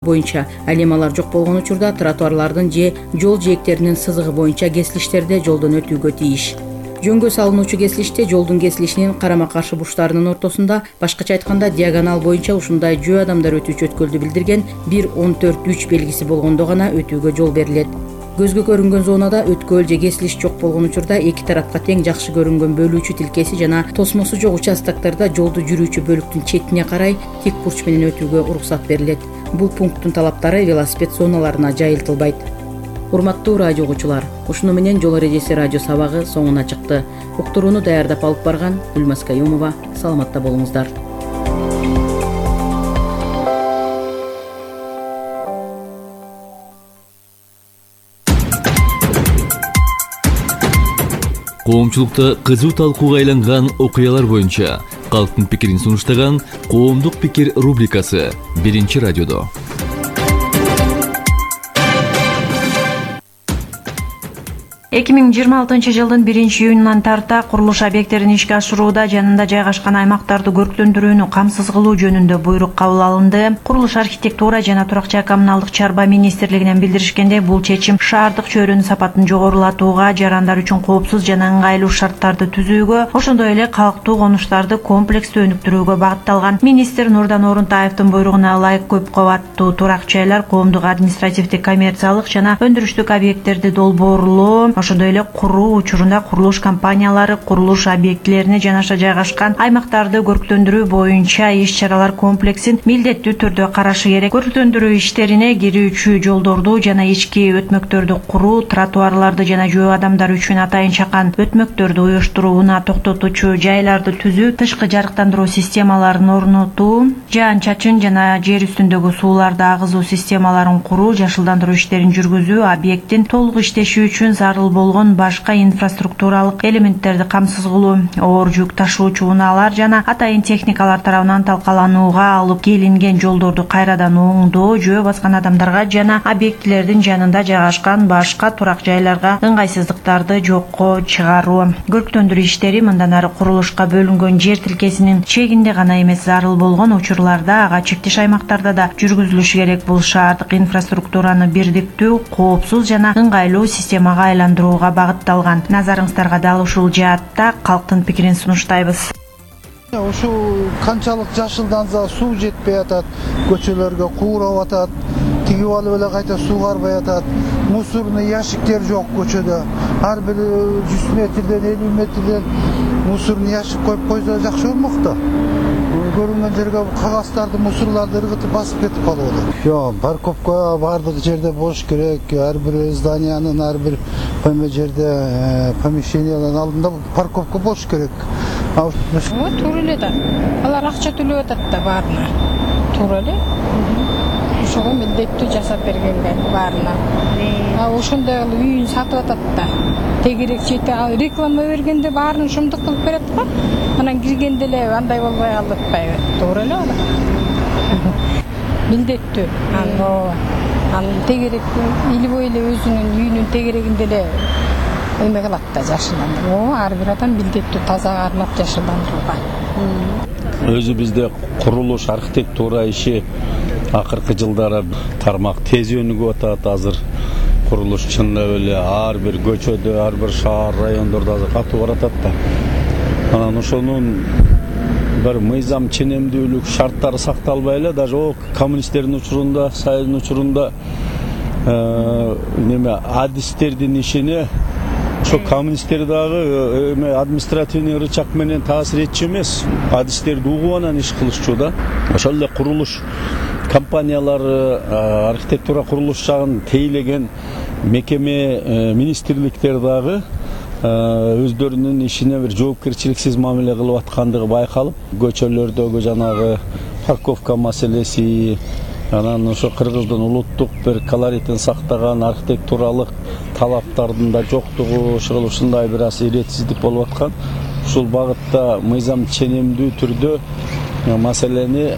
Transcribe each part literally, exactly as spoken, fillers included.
боюнча. Ал эми алар жок болгон учурда тротуарлардын же жол жээктеринин сызыгы боюнча кесилиштерде жолдон өтүүгө тийиш. Жөнгө салынуучу кесилиште жолдун кесилишинин карама-каршы бурчтарынын ортосунда, башкача айтканда диагонал боюнча ушундай жөө адамдар өтүүчү өткөлдү билдирген бир он төрт үч белгиси болгондо гана өтүүгө жол берилет. Көзгө көрүнгөн зонада өткөл же кесилиш жок болгон учурда эки тарапка тең жакшы көрүнгөн бөлүүчү тилкеси жана тосмосу жок участоктарда жолду жүрүүчү бөлүктүн четине карай тик бурч менен өтүүгө уруксат берилет. Бул пункттун талаптары велосипед зоналарына жайылтылбайт. Урматтуу радио угуучулар, ушуну менен жол эрежеси радио сабагы соңуна чыкты. Уктурууну даярдап алып барган Гүлмаз Каюмова. Саламатта болуңуздар. Коомчулукта кызуу талкууга айланган окуялар боюнча калктын пикирин сунуштаган Коомдук пикир рубрикасы биринчи радиодо. эки миң жыйырма алтынчы жылдын биринчи июнунан тарта курулуш объекттерин ишке ашырууда жанында жайгашкан аймактарды көрктөндүрүүнү камсыз кылуу жөнүндө буйрук кабыл алынды. Курулуш, архитектура жана турак жай коммуналдык чарба министрлигинен билдиришкендей, бул чечим шаардык чөйрөнүн сапатын жогорулатууга, жарандар үчүн коопсуз жана ыңгайлуу шарттарды түзүүгө, ошондой эле калктуу конуштарды комплекстүү өнүктүрүүгө багытталган. Министр Нурдан Орунтаевдин буйругуна ылайык көп кабаттуу турак жайлар, коомдук административдик, коммерциялык жана өндүрүштүк объекттерди долбоорлоо, ошондой эле куруу учурунда курулуш компаниялары курулуш объектилерине жанаша жайгашкан аймактарды көрктөндүрүү боюнча иш-чаралар комплексин милдеттүү түрдө карашы керек. Көрктөндүрүү иштерине кирүүчү жолдорду жана ички өтмөктөрдү куруу, тротуарларды жана жөө адамдар үчүн атайын чакан өтмөктөрдү уюштурууна токтотуучу жайларды түзүү, тышкы жарыктандыруу системаларын орнотуу, жаан-чачын жана жер үстүндөгү сууларды агызуу системаларын куруу, жашылдандыруу иштерин жүргүзүү, объекттин толук иштеши үчүн зарыл болгон башка инфраструктуралык элементтерди камсыз кылуу, оор жүк ташуучу унаалар жана атайын техникалар тарабынан талкаланууга алып келинген жолдорду кайрадан оңдоо, жөө баскан адамдарга жана объектилердин жанында жайгашкан башка турак жайларга ыңгайсыздыктарды жокко чыгаруу. Көрктөндүрүү иштери мындан ары курулушка бөлүнгөн жер тилкесинин чегинде гана эмес, зарыл болгон учурларда ага чектеш аймактарда да жүргүзүлүшү керек. Бул шаардык инфраструктураны бирдиктүү, коопсуз жана ыңгайлуу системага айландырууга багытталган. Назарыңыздарга дал ушул жаатта калктын пикирин сунуштайбыз. Ушул канчалык жашылданса суу жетпей атат, көчөлөргө куурап атат, тигип алып эле кайта суугарбай атат. Мусорный ящиктер жок көчөдө. Ар бир жүз метрден элүү метрден мусорный ящик коюп койсо жакшы болмок да. Көрүнгөн жерге кагаздарды, мусорларды ыргытып басып кетип калып атат. Жок, парковка бардык жерде болуш керек. Ар бир зданиянын ар бир пойма жерде, помещениянын алдында парковка болуш керек. Вот туура эле да. Алар акча төлөп атат да баарына. Туура эле. Ошого милдеттүү жасап бергенге баарына. А ошондой үйүн сатып атат да. Тегерек чете реклама бергенде баарын шумдук кылып берет го. Анан киргенде эле андай болбой калып атпайбы? Туура эле ала. Милдеттүү. Аны анын тегерек илбой эле өзүнүн үйүнүн тегерегинде эле эме кылат да, жашылдандыруу. Ар бир адам милдеттүү таза кармап жашылдандырууга. Өзү бизде курулуш, архитектура иши акыркы жылдары тармак тез өнүгүп атат. Азыр курулуш чындап эле ар бир көчөдө, ар бир шаар, райондордо азыр катуу баратат да. Анан ошонун бир мыйзам ченемдүүлүк шарттары сакталбай эле, даже о коммунисттердин учурунда, Союздун учурунда неме адистердин ишине ошо коммунисттер дагы эме административный рычаг менен таасир этчү эмес, адистерди угуп анан иш кылышчу да. Ошол эле курулуш компаниялары, архитектура курулуш жагын тейлеген мекеме, министрликтер дагы өздөрүнүн ишине бир жоопкерчиликсиз мамиле кылып аткандыгы байкалып, көчөлөрдөгү жанагы парковка маселеси, анан ошо Кыргыздын улуттук бир колоритин сактаган архитектуралык талаптардын да жоктугу, ошол ушундай бир аз иретсиздик болуп аткан. Ушул багытта мыйзам ченемдүү түрдө маселени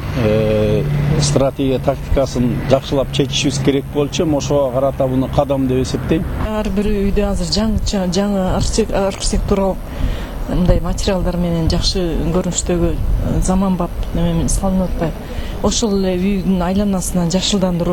стратегия тактикасын жакшылап чечишибиз керек болчу. Ошого карата буну кадам деп эсептейм. Ар бир үйдө азыр жаңы жаңы архитектуралык мындай материалдар менен жакшы көрүнүштөгү заманбап неме менен салынып атпайбы. Ошол эле үйдүн айланасынан жашылдандыруу